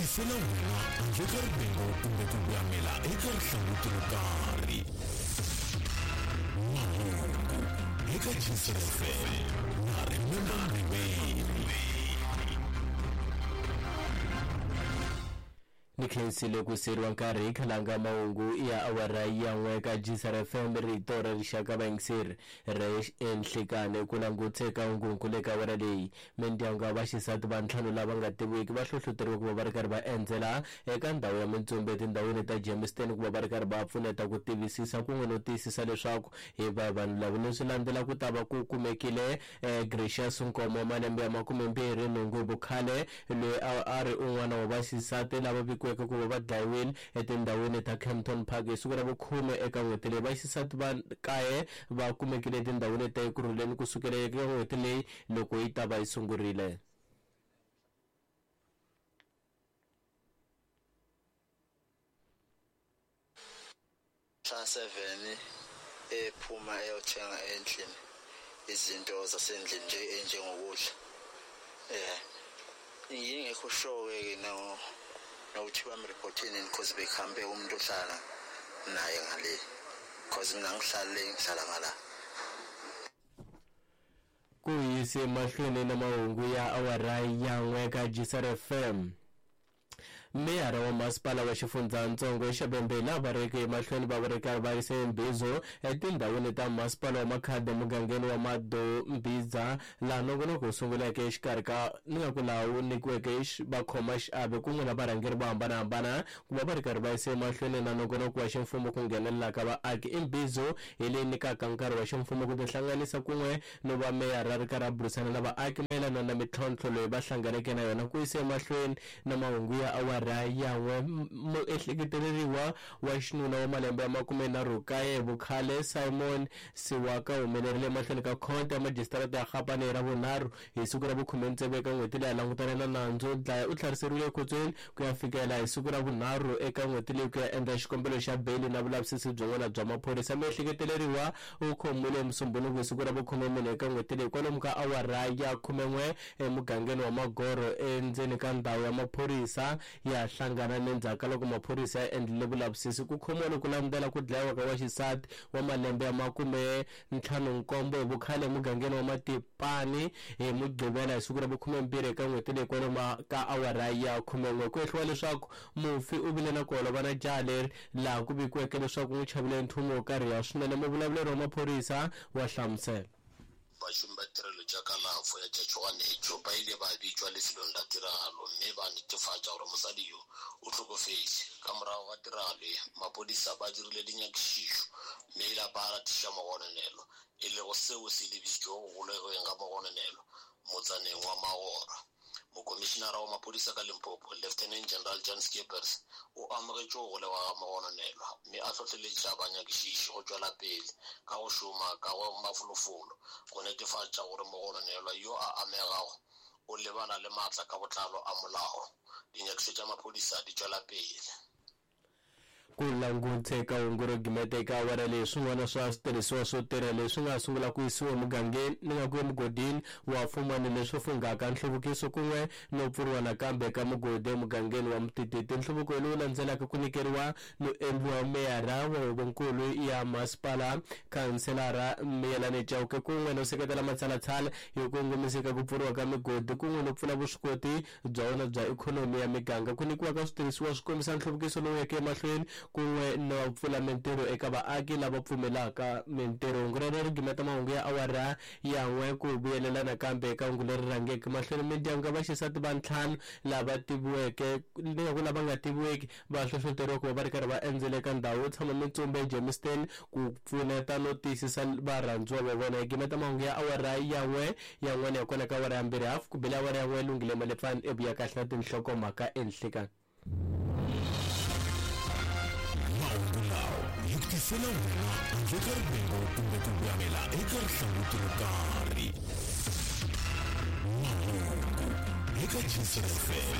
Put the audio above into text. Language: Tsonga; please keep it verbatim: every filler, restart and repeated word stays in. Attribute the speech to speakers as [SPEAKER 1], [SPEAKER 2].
[SPEAKER 1] tisela wena handle ka rivengo kumbe ku voyamela eka rihlanguti ro karhi. Mahungu eka G C F M na Remember Mriveli.
[SPEAKER 2] Ni khensile ku seriwa nkarhi khalanga mahungu ya awara ya n'we ka G C R F M, rito ra rixaka. Vayingiseri re enhlekane ku languteka hungunkulu eka awara leyi. Mindyangu ya vaxisati va ntlhanu lava nga tiviwiki va hlohloteriwa ku va va ri karhi va endzela eka ndhawu ya mintsumbu etindhawini ta Germiston ku va va ri karhi va pfuneta ku tivisisa kun'we no tiyisisa leswaku hi va vanhu lava leswi landzela ku ta va ku kumekile eh, Gracious Nkomo, malembe ya makumembirhi nhungu hi vukhale, loyi a a ri un'wana wa vaxisati lava vikiweke ku va va dlayiwile etindhawini ta Kempton Park hi siku ra vukhume eka n'hweti leyi. Vaxisati va kaye va kumekile etindhawini ta Ekurhuleni kusukela eka n'hweti leyi loko yi ta va yi sungurile.
[SPEAKER 3] Mhla seven ephuma eyothenga endlini izinto zasendlini nje enjengokudla. eh ngingekho sure ke no nokuthi bamreportini, because bekhambe umuntu ohlala naye ngale, because mina ngihlala le, ngihlala ngala.
[SPEAKER 2] Ku yise mahlweni na mahungu ya awara ya n'we ka G C R F M, meyara wa masipala wa xifundzatsongo xa Vhembe lava reke emahlweni va va ri karhi va yise mbizo etindhawini ta masipala wa Makhado, emugangeni wa Madombiza, laha nongonoko wu sunguleke exikarhi ka ni nga ku laha wu nyikiweke vakhoma xiave kun'we na varhangeri vo hambanahambana ku va va ri karhi va yise emahlweni na nongonoko wa ximfumo ku nghenelela ka vaaki. Imbizo hi leyi nyikaka nkarhi wa ximfumo ku tihlanganisa kun'we no va meyara ri karhi a burisana na vaaki mayelana na mintlhontlho leyi va hlanganeke na yona. Ku yise emahlweni na mahungu ya awara ya n'we, muehleketeleriwa wa xinuna wa malembe ya makumenharhu kaye vukhale, Simon Siwaka, humelerile emahlweni ka khoto ya majisitarata ya Kgapane hi Ravunharhu hi siku ra vukhume tsevu eka n'hweti leyi, a langutane na nandzu wo dlaya. U tlheriseriwile ekhotsweni ku ya fikela hi siku ra vunharhu eka n'hweti leyi ku ya endla xikombelo xa beyili na vulavisisi byin'wana bya maphorisa. Miehleketeleriwa u khomiwile Musumbunuku hi siku ra vukhumemune eka n'hweti leyi kwalomu ka awara ya khumen'we emugangeni wa Magoro endzeni ka ndhawu ya maphorisa ya hlangana ni ndzhaku ka loko maphorisa ya endlile vulavisisi. Ku khomiwa loku landzela ku dlayiwa ka wa xisati wa malembe ya makume ntlhanu nkombo hi vukhale emugangeni wa Matipani hi Mugqivela hi siku ra vukhumembirhi eka n'hweti leyi kwalomu ka awara ya khumen'we. Ku ehliwa leswaku mufi u vile na ku holova na jaha leri, laha ku vikiweke leswaku n'wi chavile nchumu wo karhiha swinene. Muvulavuleri wa maphorisa wa hlamusela.
[SPEAKER 4] Bašomi ba tirelo tša kalafo ya tša tšhoganetšo ba ile ba bitšwa lefelong la tiragalo mme ba netefatša gore mosadi yo o hlokofetše. Ka morago ga tiragalo ye, maphodisa ba dirile dinyakišišo mme la ba latiša mogononelwa, e lego seo se lebišitšego go golegweng ga mogononelwa motsaneng wa Magora. Mokomišenara wa maphodisa ka Limpopo, Lieutenant General Jan Scheepers, o amogetše go golegwa ga mogononelwa mme a hlohleletša banyakišiši go tšwela pele ka go šoma ka go mafolofolo go netefatša gore mogononelwa yo a amegago o lebana le maatla ka botlalo a molao. Dinyakišišo tša maphodisa di tšwela pele.
[SPEAKER 2] Ku languteka hungu ro gimeta eka awara leyi, swin'wana swa switirhisiwa swo tirha leswi nga sungula ku yisiwa emugangeni ni nga ku emugodini wa Fumani, leswi funghaka nhluvukiso kun'we no pfuriwa nakambe ka mugodi emugangeni wa Mtititi. Nhluvuko lowu landzelaka ku nyikeriwa no endliwa meyara wa huvonkulu ya masipala, khanselara Miyelani Chauke, kun'we no seketela matshalatshala hi kongomiseka ku pfuriwa ka migodi kun'we no pfula vuswikoti bya wona bya ikhonomi ya miganga. Ku nyikiwa ka switirhisiwa swi kombisa nhluvukiso lowu yeke emahlweni kun'we no pfula mintirho eka vaaki lava pfumelaka mintirho. Hungu rero ri gimeta mahungu ya awara ya n'we. Ku vuyelela nakambe eka hungu leri rhangeke mahlweni, mindyangu ya vaxisati va ntlhanu lava tiviweke ni nga ku lava nga tiviweki va hlohloteriwa ku va va ri karhi va endzela eka ndhawu yo tshama mintsumbu eGermiston ku pfuneta no tiyisisa varhandziwa va vona. Hi gimeta mahungu ya awara ya n'we, yan'wana ya kona ka awara ya mbirhi hafu ku bela awara ya n'we. Lunghile Malepfani evuya kahle na tinhlokomhaka enhlekani.
[SPEAKER 1] Mahungu lawa hi ku tisela wena handle ka rivengo kumbe ku voyamela eka rihlanguti ro karhi. Mahungu eka G C F M.